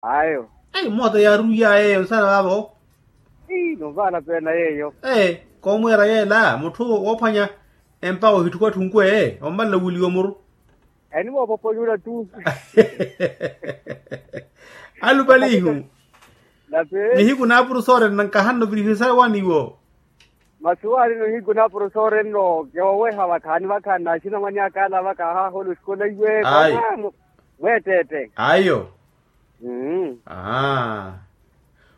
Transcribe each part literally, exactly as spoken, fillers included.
Ayo. Ei moota yaaruwiya yeeyo nsana vaavo. Ii novaala peena yeeyo. Ee koomweera yeela mutthu woophwanya empa ohitthukwa tthunku ee ommalela owuliwa omuru. Enimoopopolyula tu. Alupalihu. Nihiku naapuru soorena nkahanno virihisayo waniwo. Masi waani nihiku naapuru soorena nno kewooweha vakhaani vakhaani naaxinamwani akaala vaka ahaahola osikolayiwe. Mweetteette. Ayo. Aa.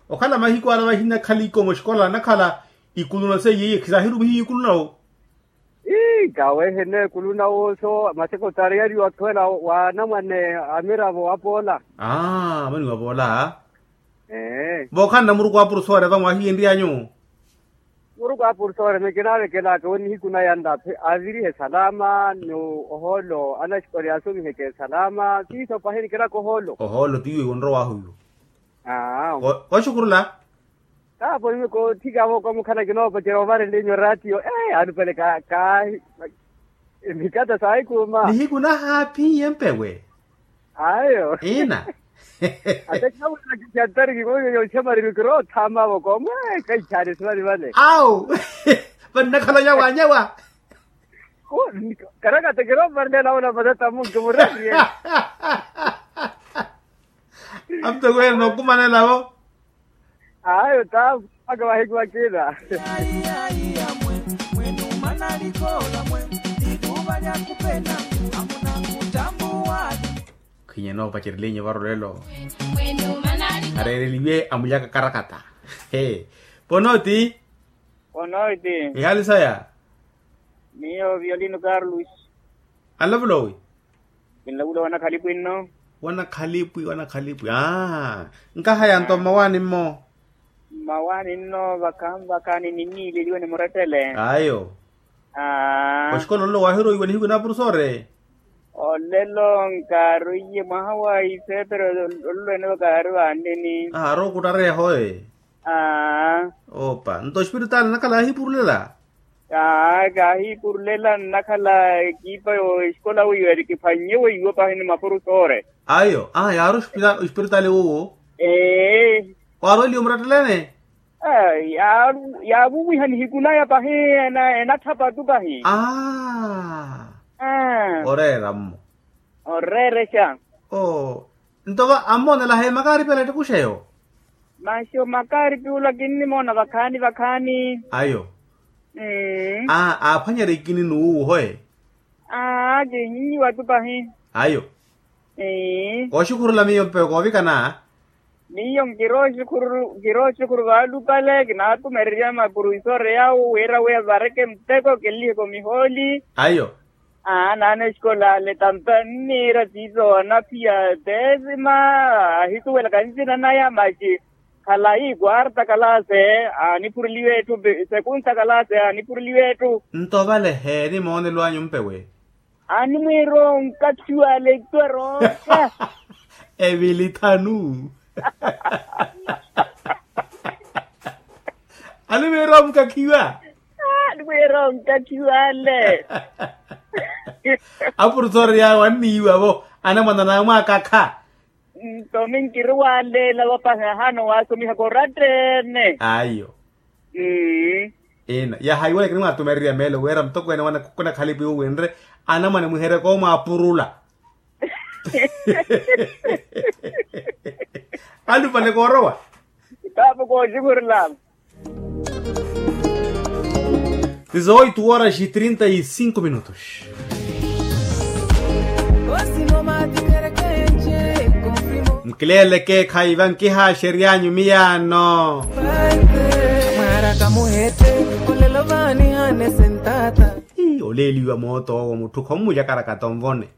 Okhala mahiku ala vahinnakhala ikomo oxikola anakhala ikulu na seiye iye khisaahirumihiye ikulu nawo. Ii kaweehene ekulu nawo so masekotari yari wakhwela wa anamwane amiravo apoola. Aa amaniwa apoola. Ee. Vookhanna muruku wa purusore vamwahiyenryanyu. Muruku a purusore mekinaavekelaka we nihiku naya nlaphe avirihe salama ni ohoolo anaxikori aasomiheke salama siiso pahi nikilaka ohoolo. Ohoolo tiiwe wonrowahu iwo. Aa. Oxukhurula. Kaapo iwe koothikavo kamukhala kinoopacerya ovarenle inyu ratio ee alupale ka ka mikata saahikuuma. Nihiku nahaaphiye mpewe. Ayo. Ina. Ate khawela kikiatari kikoyo yoxamariri kiroothama voko mwe kaikhaani simani vale. Awu. Vannakhala nyawa nyawa. Karakata kirooparela nawo na matata munki mureriye. Amutokweene nookumanelavo. Ayo taavo mpakha vahikiwa kina. Khwinya enoopacereliye varolelo. Areereliwe amulyaka karakata. Ponooti. Ponooti. Ihaali saya. Miyo violino carlos. Anlavula owi? Kinlavula wanakhalipu inno. Wanakhalipu wanakhalipu aa. Nkahaya nto mmawaani mmo. Mmawaani nno vakhanvakha ni ninniileliwe ni murettele. Ayo. Aa. Oxikola olelo waahiroiwa nihiku naapurusore. Olelo nkaaroiye mwaha wa iseepero olelo ene vakaari vaanneni. Aa arookutareya hoye. Aa. Opa nto oxipiritaali anakhala yaahipurulela. Aa kaahipurulela nnakhala ekipa yo exikola weiwa eri kiphwannye weiwa pahi ni mapurusore. Ayo aa yaari oxipiritaali wuwo. Ee. Waarweliwe murettelene. Yaavuwiha nihiku naya pahi enatthapa tu pahi. Aa. Oreera mmo. Oreerexa. Oo. Nto va ammoonela heemakaaripi ala ettikuxeyo. Maxi omakaaripi ola kinnimoona vakhaani vakhaani. Ayo. Aa aaphwanyerya ikini n'uwo hoye. Aa kihinyiwa tu pahi. Ayo. Kooxikhurula miyo mpewe koovikana. Miyo nkirooxikhuru nkirooxikhuru vaalupale kinaatumererya mapuruvisore yawo wira wi vareke muteko kinliheke omihooli. Ayo. Aa naana exikola ale tampa nniira tiiso anaphiya teesima. Ahisuwelaka nsina naya maxi khalayi kwarta kalase. Aanipureliwe etthu sekunsa kalase aanipureliwe etthu. Nto vale heeni moonelo anyu mpewe. Animwiira onkathiwa ale etthu erooka. Evili thanu. Animwiira omukakhiwa. Animwiira onkakhiwa ale. Apurusori yawe anniiwa vo anamwana namwaakakha. Nto minkiri waaleela vapahi ahaana waasomihaka oratta-ene. Ayo. Ina yaha iwalekeni mwaatumererya meelo wira mutokweene wanakhalipiwe winre anamwane mwihereke omwaapurula. Alupale koorowa. Kaapo kooxikhurulaka. Dezoito horas e trinta e cinco minutos. Nkileeleke khaiva nkihaaxery'anyu miyaano. Oleeliwa mooto owo mutthu khommulya karakata onvone.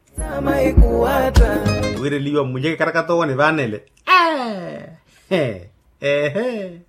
Wireliwa mmulya karakata owo nivaanele. Ehe.